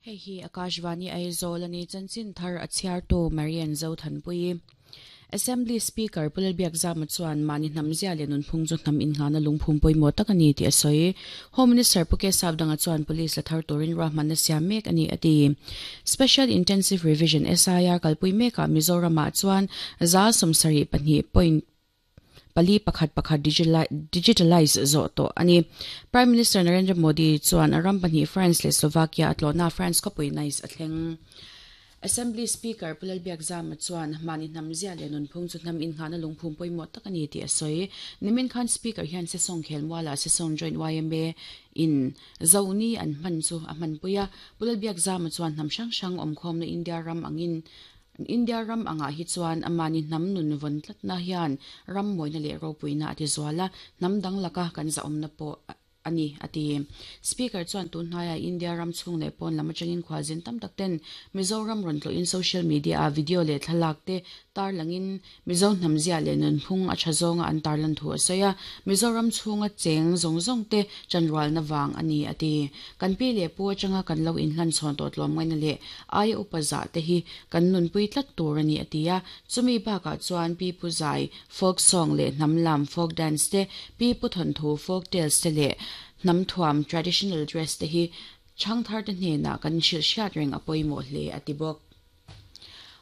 Hei hi Akashvani Aizawl a ni, chanchin thar a chhiartu Marian Zothanpuii. Assembly Speaker Pu Lalbiakzama chuan mahni hnam zia leh nunphung chu hnam innghahna lungphum pawimawh tak a ni tih a sawi. Home Minister Pu Kesav Danga chuan Police la thar turin ruahmanna siam mek a ni a ti. Special Intensive Revision, SIR, kalpui mekah Mizoramah chuan 72 point pali pakhat pakhat digitalize zawh tawh a ni. Prime Minister Narendra Modi chuan a ram pahnih France leh Slovakia a tlawhna France khawpui Nice a thleng. Assembly Speaker Pu Lalbiakzama chuan mahni hnam zia leh nunphung chu hnam innghahna lungphum pawimawh tak a ni tih a sawi. Nimin khan Speaker hian Sesawng khelmualah Sesawng Joint yma in Zoni an hman chu a hmanpui a. Pu Lalbiakzama chuan hnam hrang hrang awmkhawmna India ram angin India ram angah hi chuan amahni hnam nun vawn tlatna hian ram mawina leh ropuina a ti zual a, hnam dang laka kan zahawmna pawh a ni, a ti. Speaker chuan tun hnaiah India ram chhung leh pawn lam atangin khualzin tam tak ten Mizoram rawn tlawhin social media ah video leh thlalak te tarlangin Mizo hnamzia leh nunphung a tha zawnga an tarlan thu a sawi a, Mizoram chhunga cheng zawng zawng te chanrualna vang a ni, a ti. Kan pi leh pu atanga kan lo inhlan chhawn tawh tlawmngaihna leh aia upa zah te hi kan nunpui tlat tur a ni, a ti a. Chumi bakah chuan Pi Pu Zai, folk song, leh hnam lam, folk dance, te, Pi Pu Thawnthu, folk tales, te leh hnam thuam, traditional dress, te hi chhangthar te hnenah kan hrilh hriat reng a pawimawh hle, a ti bawk.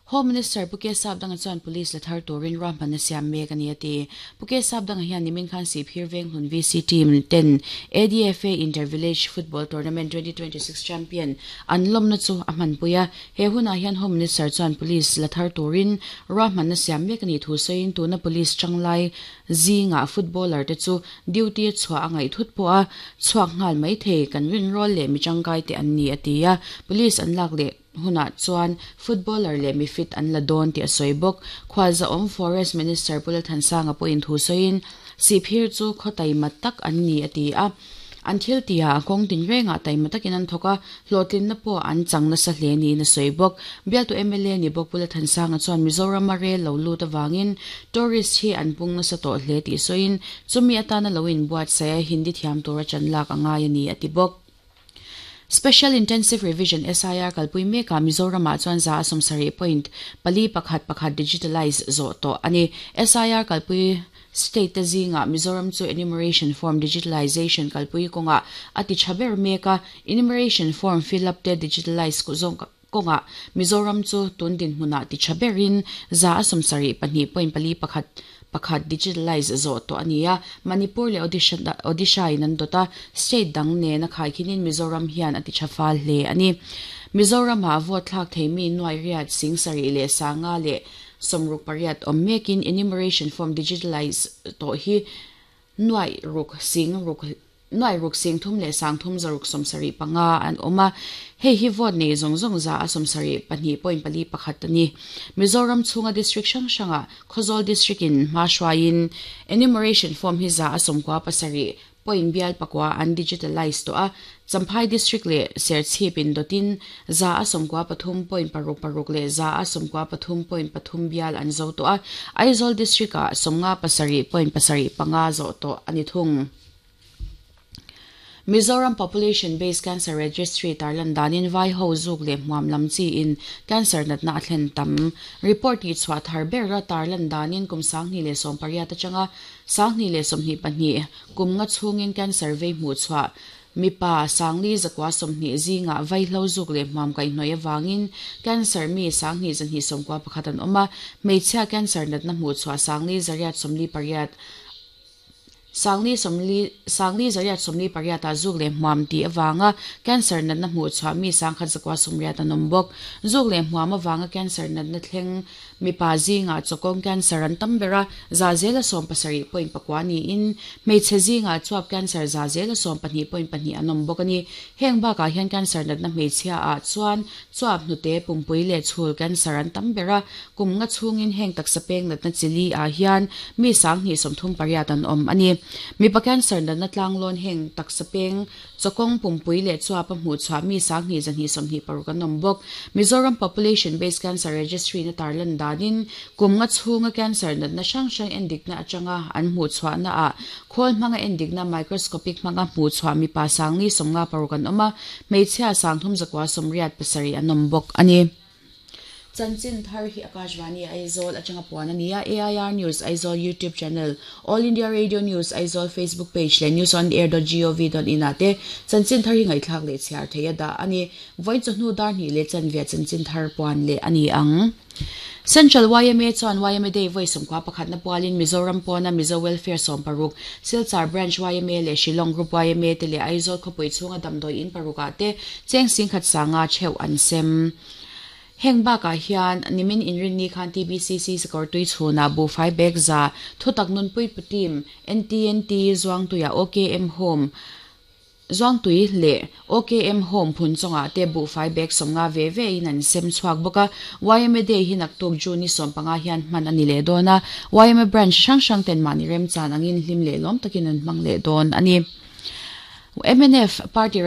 Home Minister Pu Kesap Danga chuan Police la thar turin ruahmanna siam mek a ni a ti. Pu Kesap Danga hian nimin khan Sihphir Venghlun VC team ten ADFA Inter Village Football Tournament 2026 champion an lawmna chu a hmanpui a. He hunah hian Home Minister chuan Police la thar turin ruahmanna siam mek a nih thu sawiin tuna Police tanglai zingah footballer te chu duty a chhuah a ngaih thut pawh a chhuak nghal mai thei kan rinrawl leh mi tangkai te an ni a ti a. Police an lak leh hunah chuan footballer leh mi fit an la dawn tih a sawi bawk. Khualzahawm Forest Minister Pu Lalthansanga pawhin thu sawiin, Sihphir chu khaw taima tak an ni a ti a. An thil tihah a kawng tinrengah taima takin an thawk a, hlawhtlinna pawh an chang nasa hle niin a sawi bawk. Bialtu mla ni bawk Pu Lalthansanga chuan Mizorama rel lo lut avangin tourist hi an pung nasa tawh hle tih sawiin, chumi atana lo inbuatsaih a Hindi thiam tura chan lak a ngai a ni a ti bawk. Special Intensive Revision, SIR, kalpui mekah Mizoramah chuan 70 point pali pakhat pakhat digitalize zawh tawh a ni. SIR kalpui state te zingah Mizoram chu enumeration form digitalization kalpui kawngah a ti tha ber mek a, enumeration form fill up te digitalize kawngah Mizoram chu tun dinhmunah ti tha berin 72 point pali pakhat pakhat digitalize zawh tawh a ni a, Manipur leh Odisha in an dawt a, state dang nen a khaikhinin Mizoram hian a ti tha fal hle a ni. Mizoramah vote thlak thei mi nuai riat sing sarih leh sanga leh sawmruk pariat awm mekin enumeration form digitalize tawh hi nuai ruk sing ruk Nuai ruk sing thum leh sang thum zaruk sawmsarih panga an awm a, hei hi vote nei zawng zawng za a sawmsarih pahnih point pali pakhat a ni. Mizoram chhunga district hrang hrangah Khawzawl district in hma hruaiin enumeration form hi za a sawmkua pasarih point bial pakua an digitalize tawh a, Champhai district leh Serchhip in dawtin za a sawmkua pathum point paruk paruk leh za a sawmkua pathum point pathum bial an zo tawh a, Aizawl district ah sawmnga pasarih point pasarih panga zawh tawh a ni thung. Mizoram Population Based Cancer Registry tarlan danin vai ho zuk leh hmuam lam chi in cancer natna a thlen tam. Report tih chhuah thar ber a tarlan danin kum 2018 atanga 2022 kum nga chhungin cancer vei hmuh chhuah mipa 4,120 zingah vaihlo zuk leh hmuam kaihhnawih avangin cancer mi 2,291 an awm a, hmeichhia cancer natna hmuh chhuah 4,848 Sangli sawmli Sangli zariat sawmli pariatah zuk leh hmuam tih avanga cancer natna hmuh chhuah mi sangkhat zakua sawmriat an awm bawk. Zuk leh hmuam avanga cancer natna thleng mipa zingah chawkawng cancer an tam ber a, za zela sawm pasarih point pakua niin hmeichhe zingah chuap cancer za zela sawm pahnih point pahnih an awm bawk a ni. Heng bakah hian cancer natna hmeichhia ah chuan chuap hnute, pumpui leh chhul cancer an tam ber a, kum nga chhungin heng taksa peng natna chili ah hian mi 2038 an awm a ni. Mipa cancer natna tlanglawn heng taksa peng, chawkawng pumpui leh chuapa hmuh chhuah mi 2226 an awm bawk. Mizoram Population Based Cancer Registry na tarlan danin kum nga chhunga cancer natna hrang hrang endikna atanga an hmuh chhuahna ah khawl hmanga endikna microscopic hmanga hmuh chhuah mipa 456 an awm a, hmeichhia 3987 an awm bawk a ni. Chanchin thar hi Akashvani Aizawl atanga puan a ni a, AIR News Aizawl YouTube channel, All India Radio News Aizawl Facebook page leh newsonair.gov.in ah te chanchin thar hi ngaihthlak leh chhiar theih a dah a ni. Vawiin chawhnu dar hnih leh chanve chanchin thar puan leh a ni ang. Central yma chuan yma Day vawi sawmkua pakhatna pualin Mizoram pawna Mizo Welfare 16, Silchar Branch yma leh Shillong Group yma te leh Aizawl khawpui chhunga damdawi in parukah te cheng singkhat sanga theuh an sem. Heng bakah hian nimin inrinni khan TBCC Sakawrtui chhunah buhfai bag za thutak nunpui pu team NTNT Zuangtuia OKM Home Zuangtui leh OKM Home phun chungah te buhfai bag 50 ve ve in an sem chhuak bawk a. YMA Day hi naktuk June ni 15 hian hman a ni leh dawn a. YMA branch hrang hrang ten mahni remchan angin hlim leh lawm takin an hmang leh dawn a ni. MNF party.